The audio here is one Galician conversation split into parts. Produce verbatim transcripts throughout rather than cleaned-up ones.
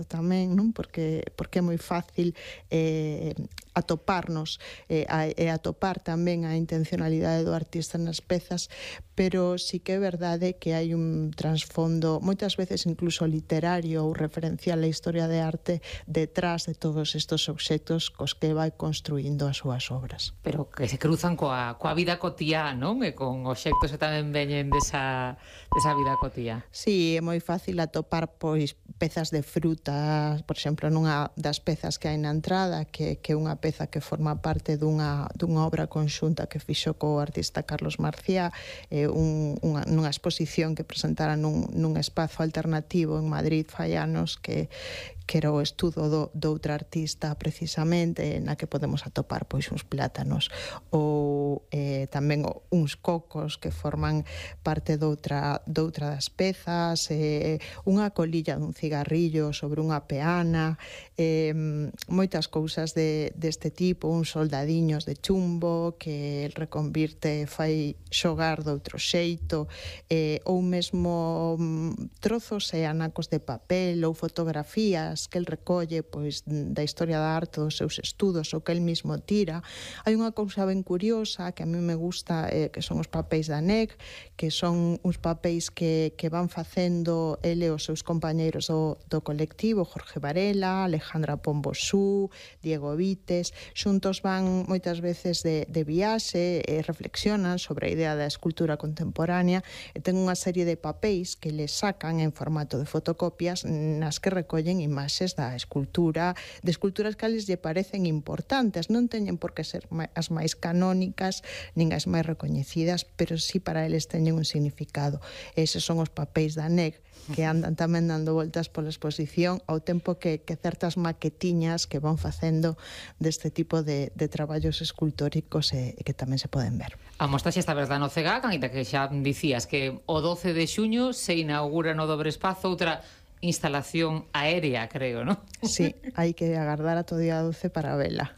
tamén, non? Porque, porque é moi fácil eh, atoparnos eh, a, e atopar tamén a intencionalidade do artista nas pezas, pero sí que é verdade que hai un trasfondo moitas veces incluso literario ou referencial á historia de arte detrás de todos estes obxectos cos que vai construindo as súas obras. Pero que se cruzan coa, coa vida cotiá, non? E con obxectos que tamén veñen desa, desa vida cotiá. Sí, é moi fácil atopar pois pezas de fruta, por exemplo, nunha das pezas que hai na entrada, que, que é unha peza que forma parte dunha, dunha obra conxunta que fixo co artista Carlos Marciá, eh, un, unha, nunha exposición que presentara nun, nun espazo alternativo en Madrid fai anos, que que era o estudo do, do outra artista precisamente, na que podemos atopar pois uns plátanos ou eh, tamén uns cocos que forman parte doutra, doutra das pezas, eh, unha colilla dun cigarrillo sobre unha peana, eh, moitas cousas de, deste tipo, uns soldadiños de chumbo que el reconvirte, fai xogar doutro xeito, eh, ou mesmo trozos e anacos de papel ou fotografías que el recolle pois da historia da arte dos seus estudos ou que el mismo tira. Hai unha cousa ben curiosa que a mí me gusta, eh, que son os papéis da N E C, que son uns papéis que, que van facendo ele e os seus compañeiros do, do colectivo, Jorge Varela, Alejandra Pombosú, Diego Vites, xuntos van moitas veces de, de viaxe e reflexionan sobre a idea da escultura contemporánea e ten unha serie de papéis que les sacan en formato de fotocopias nas que recollen imaxes da escultura, de esculturas que les lle parecen importantes, non teñen por que ser as máis canónicas nin as máis recoñecidas, pero sí para eles teñen un significado. Eses son os papéis da N E C que andan tamén dando voltas pola exposición ao tempo que, que certas maquetiñas que van facendo deste tipo de, de traballos escultóricos e, e que tamén se poden ver. A mostra xa está verdad no CEGAC, ainda que xa dicías que o doce de xuño se inaugura no Dobre Espazo outra instalación aérea, creo, non? Sí, hai que agardar ata o día doce para vela.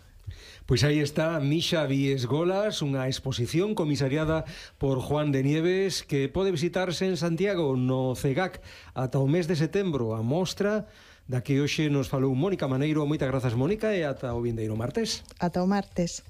Pois aí está Misha Vies Golas, unha exposición comisariada por Juan de Nieves que pode visitarse en Santiago no CEGAC ata o mes de setembro. A mostra da que hoxe nos falou Mónica Maneiro. Moitas grazas, Mónica, e ata o vindeiro martes. Ata o martes.